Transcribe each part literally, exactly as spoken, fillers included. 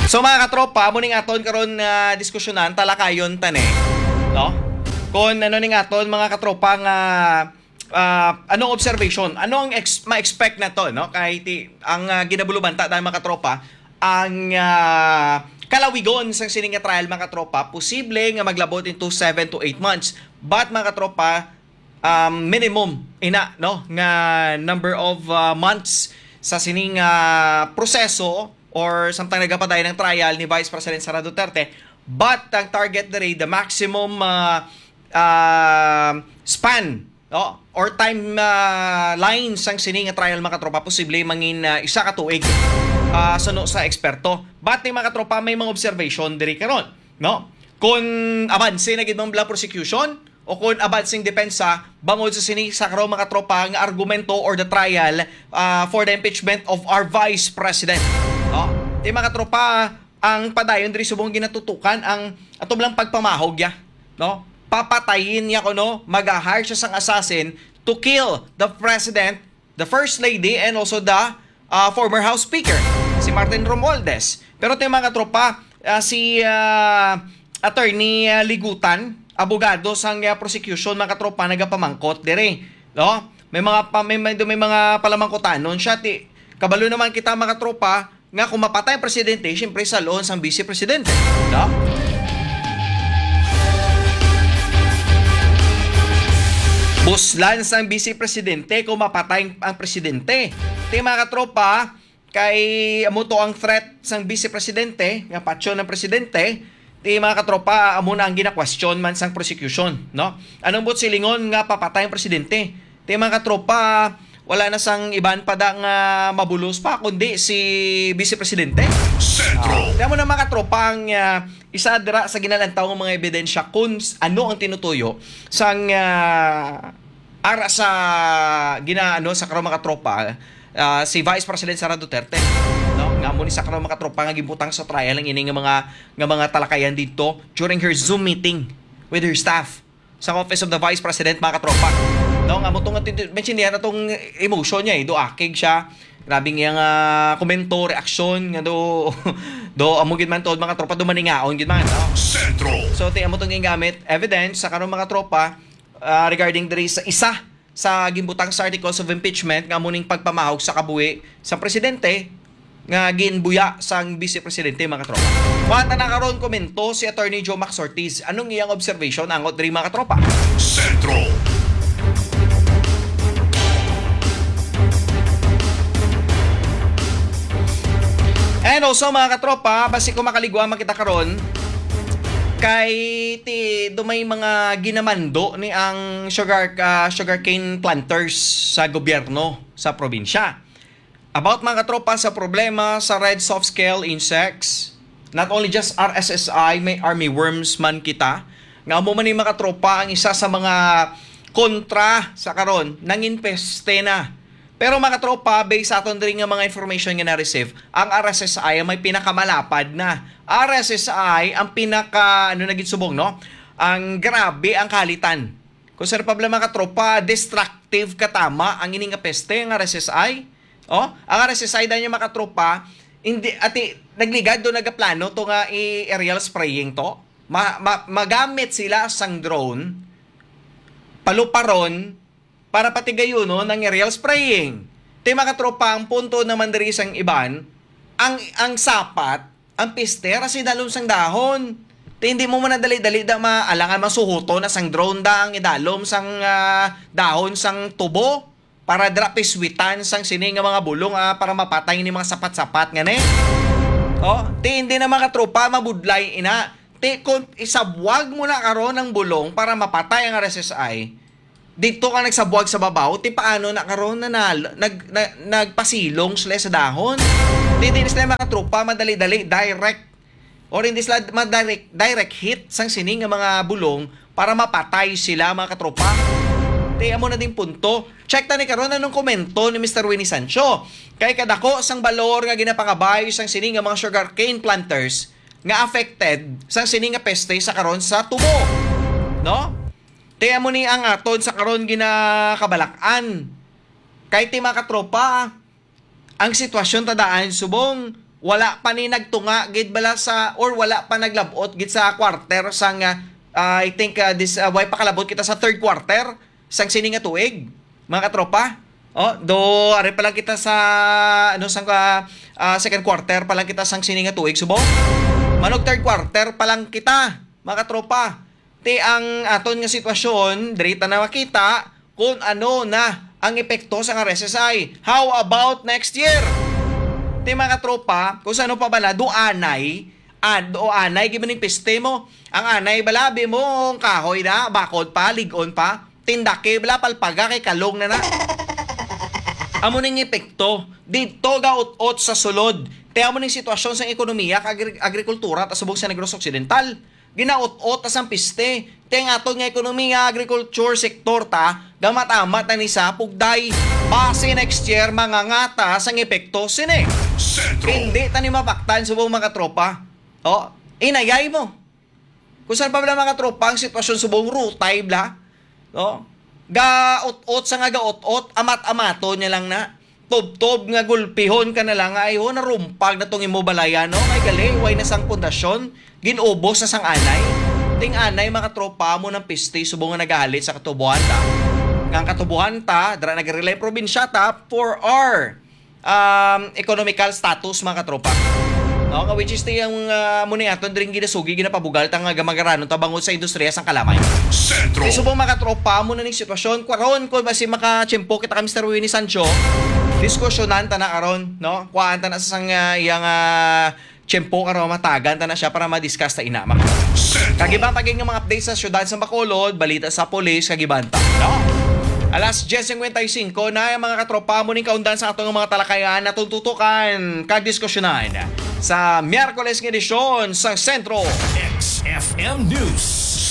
So, mga katropa, amo ning aton karon nga diskusyonan, talakayon ta ni, no? Kung ano ning aton, mga katropa, nga, ah, anong observation, ano ang ex-, ma-expect nato, no? Kay ti-, ang, ah, ginabulubanta dahil, mga katropa, ang, ah, kalawigon sang sini nga trial, mga katropa, posible nga maglabot into seven to eight months. But, mga katropa, um, minimum ina, no, nga number of, uh, months sa sining, uh, proseso or samtang nagapadayon ang trial ni Vice President Sara Duterte, but ang target diri, the maximum, uh, uh, span, no, or time, uh, line sang sini nga trial, mga katropa, posible mangin, uh, isa ka tuig, uh, suno sa eksperto. But ni, mga katropa, may mga observation diri karon, no? Kung abanse na gid man bala prosecution, o kung abanseng depensa bangod sa sini sa karo, mga tropa, nga argumento or the trial, ah, for the impeachment of our Vice President. No? Ti, mga tropa, ang padayon diri subong ginatutukan ang ato lang pagpamahog ya, no? Papatayin niya kuno, mag-hire siya sang assassin to kill the president, the First Lady, and also the, uh, former House Speaker, si Martin Romualdez. Pero ti, mga tropa, uh, si, uh, Attorney, uh, Ligutan, abogado sang, uh, prosecution, mga tropa, nagapamangkot diri, no? May mga pa-, may, may, may mga palamangkutanon siya. Ti, kabalo naman kita, mga tropa, nga kung mapatay ang presidente, siyempre, salon sang vice presidente, no? Buslan sang vice presidente kung mapatay ang presidente. Ti, mga katropa, kay amo to ang threat sang vice presidente, nga patyon ang presidente, ti, mga katropa, amo na ang gina-question man sang prosecution, no? Anong buot silingon nga papatay ang presidente? Ti, mga katropa, wala na sang iban pa da nga mabulos pa, kundi si Vice Presidente. Sentro. Ah, kaya mo na, mga katropa, ang, ah, isa dira sa ginalantaw nga mga ebidensya kung s-, ano ang tinutuyo sang, ah, ara sa gina-, ano, sa karon, mga tropa, ah, si Vice President Sara Duterte, no? Nga amo ni sa karon, mga tropa, nga ginbutang sa trial ang ini nga mga, nga mga talakayan dito during her Zoom meeting with her staff sa Office of the Vice President, mga katropa. No, nga mo tong tintu-, mention niya na tong emotion niya, eh. Do akig siya. Grabe nga nga komento, reaksyon, nga do, do, amo gid man to, mga tropa, do maningaon gid man, no? Sentro. So, ti, amo tong gingamit evidence sa karon, mga tropa, ah, regarding diri sa isa sa ginbutang sa articles of impeachment nga amo ning pagpamahog sa kabuhi sa presidente nga ginbuya sang Vice Presidente, mga katropa. Kuha ta na karon komento si Attorney Joe Max Ortiz. Anong iyang observation angot diri, mga katropa? Sentro. And also, mga katropa, basi ko makaligwa man kita karon, kay ti, do may mga ginamando ni ang sugar, ah, sugarcane planters sa gobyerno sa probinsya. About, mga katropa, sa problema sa red soft scale insects, not only just R S S I, may army worms man kita. Nga amo man ni, mga katropa, ang isa sa mga kontra sa karon, nangin peste na. Pero, mga katropa, based sa aton diri nga mga information nga na-receive, ang R S S I ang may pinakamalapad na. R S S I ang pinaka, ano na gid subong, no? Ang grabe ang kalitan. Kung sa Republic, mga katropa, destructive katama ang ini nga peste, ang R S S I. Oh, ang R S S I daw niya, mga katropa, hindi, ati, nagligad do nagaplano to nga i-aerial spraying to. Ma-, ma-, magamit sila sang drone, paluparon, para patigayunon ang aerial spraying. Ti, mga katropa, ang punto naman diri sang iban, ang, ang sapat, ang piste, ra si dalom sang dahon. Ti, hindi mo man na dali-dali da ma-, alangan masuhuton na sang drone da ang idalom sang, ah, dahon sang tubo para dira piswitan sang sini nga mga bulong, ah, para mapatay ni mga sapat-sapat nga ni. Oh, ti, hindi na, mga katropa, mabudlay ina. Ti, kung isabwag mo na karon ang bulong para mapatay ang R S S I, dito ka nagsabwag sa babaw, ti paano na karon na nal-, nag-, na-, nagpasilong sila sa dahon? Ti, di na sila, mga tropa, madali-dali, direct, or hindi sila madirect, direct hit sang sini nga mga bulong para mapatay sila, mga katropa. Ti, amo na ding punto. Check ta ni karon anong komento ni Mister Winnie Sancho. Kay kadako sang balor nga ginapangabay sang sini nga mga sugarcane planters nga affected sang sini nga peste sa karon sa tubo. No? Ti amo ni ang aton sa karon ginakabalak-an. Kay ti, mga katropa, ang sitwasyon ta daan subong Wala pa ni nagtunga gid bala sa, or wala pa naglabot gid sa quarter sang, ah, ah, I think, ah, this, ah, way pakalabot kita sa third quarter sang sini nga tuig, mga katropa. Oh, do, ari pa lang kita sa, ano, sang, ah, ah, second quarter pa lang kita sang sini nga tuig, subong. Manog third quarter pa lang kita, mga katropa. Ti ang aton nga sitwasyon, diri ta na makita kung ano na ang epekto sa R S S I. How about next year? Ti, mga katropa, kung sa ano pa bala, do anay, ad, o anay, gibaning piste mo. Ang anay bala, bi mo, ang kahoy na, bakod pa, ligon pa. Tindake bala, palpaga, kay kalong na na. Amo ning epekto. Dito ga ut-ot sa sulod. Ti amo ning sitwasyon sa ekonomiya kag agri-, agrikultura ta subong sa Negros Occidental. Ginaut-ot ta sang piste. Ti ang aton nga ekonomiya, agriculture sector ta, gamat-amat na ni sa pugday. Basi next year, mangangata sang epekto sini. Sentro. Hindi ta ni mapaktan subong, mga tropa. Oh, inayay mo. Kung saan pa bala, mga tropa, ang sitwasyon subong, rutay bla. No? Gaot-ot sa nga gaot-ot, amat-amaton niya lang na. Tubtob nga gulpihon ka na lang nga, ay ho, narumpag na tong imo balayan, no? Kay gali, way na sang pundasyon, ginubos na sang anay. Ting anay, mga tropa, mo ng pisti subong nga nagahalit sa katubuhan ta. Nga ang katubuhan ta, dira nag-relay probinsya ta, for our, um, economical status, mga katropa. No, nga which is ti ang, ah, mo ni aton dring ginasugi, ginapabugal ta nga gamagaranon ta bangod sa industriya sang kalamay. Sentro. Kay subong, mga katropa, mo na ning sitwasyon. Karon, kung basi makatiyempo kita kay Mister Winnie Sancho, diskusyonan ta na karon, no? Kuhaan ta na sa sang, ah, iyang, ah, tiyempo karon, matagan ta na siya para ma-discuss ta ina, mga katropa. Sentro. Kagiban pa gid nga mga update sa siyudad sa Bacolod, balita sa pulis, kagiban ta, no? Alas diyes cincuenta y cinco na ang mga katropa mo ning kaundan sa atong mga talakayan, natong tutukan kag diskusyonan sa Miyerkules nga edisyon sa Sentro. X F M News.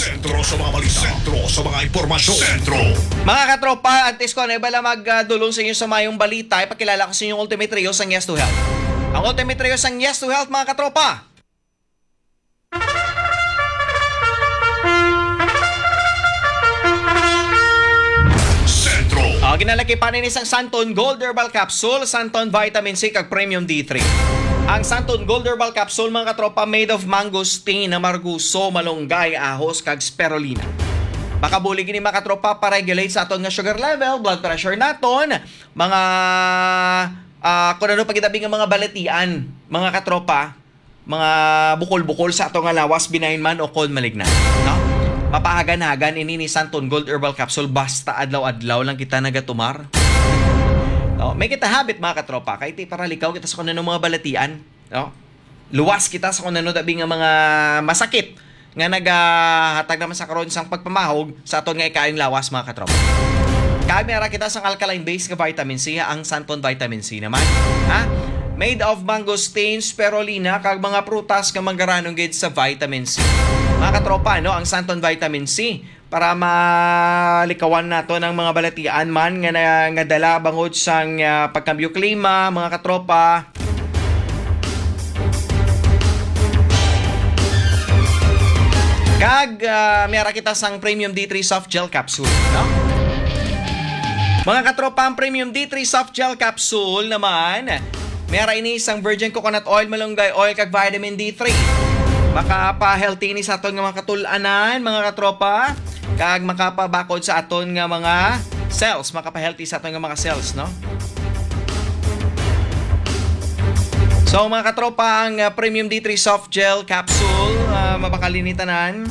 Sentro sa mga balita. Sentro sa mga impormasyon. Sentro. Mga katropa, antes ko na bala magdulong sa inyo sa mayong balita, ipakilala ko sa inyong Ultimate Trio sang Yes to Health. Ang Ultimate Trio sang Yes to Health, mga katropa. Sentro. Ah, ginalakipan ini sang Santon Gold Herbal Capsule, Santon Vitamin C, kag Premium D three. Ang Santon Gold Herbal Capsule, mga katropa, made of mangosteen, amarguso, malunggay, ahos, kag spirulina. Makabulig ini, mga katropa, pa-regulate sa aton nga sugar level, blood pressure naton, mga, ah, kung ano pa gid abi nga mga balatian, mga katropa, mga bukol-bukol sa ato nga lawas, benign man o kon malignant, no? Mapahagan-hagan ini ni Santon Gold Herbal Capsule basta adlaw-adlaw lang kita nagatumar. No? May kita habit, mga katropa, kay ti para likaw kita sa kung ano mga balatian, no? Luwas kita sa kung ano dabi nga mga masakit nga nagahatag naman sa karon sang pagpamahog sa aton nga ikaayong lawas, mga katropa. Kag may ara kita sang alkaline base nga vitamin C, ang Santon Vitamin C naman, ha? Made of mangosteen, spirulina, kag mga prutas nga manggaranong gid sa vitamin C. Mga katropa, no, ang Santon Vitamin C para malikawan nato ng mga balatian man nga, na, nga dala bangod sang, ah, pagkambyo klima, mga katropa. Kag, ah, may ara kita sang Premium D three Soft Gel Capsule, no? Mga katropa, ang Premium D three Soft Gel Capsule naman, may ara ini sang virgin coconut oil, malunggay oil, kag vitamin D three. Makapa-healthy ini sa aton nga mga katul-anan, mga katropa, kag makapabakod sa aton nga mga cells, makapa-healthy sa aton nga mga cells, no? So, mga katropa, ang, ah, Premium D three Soft Gel Capsule, ah, mabakal ini tanan.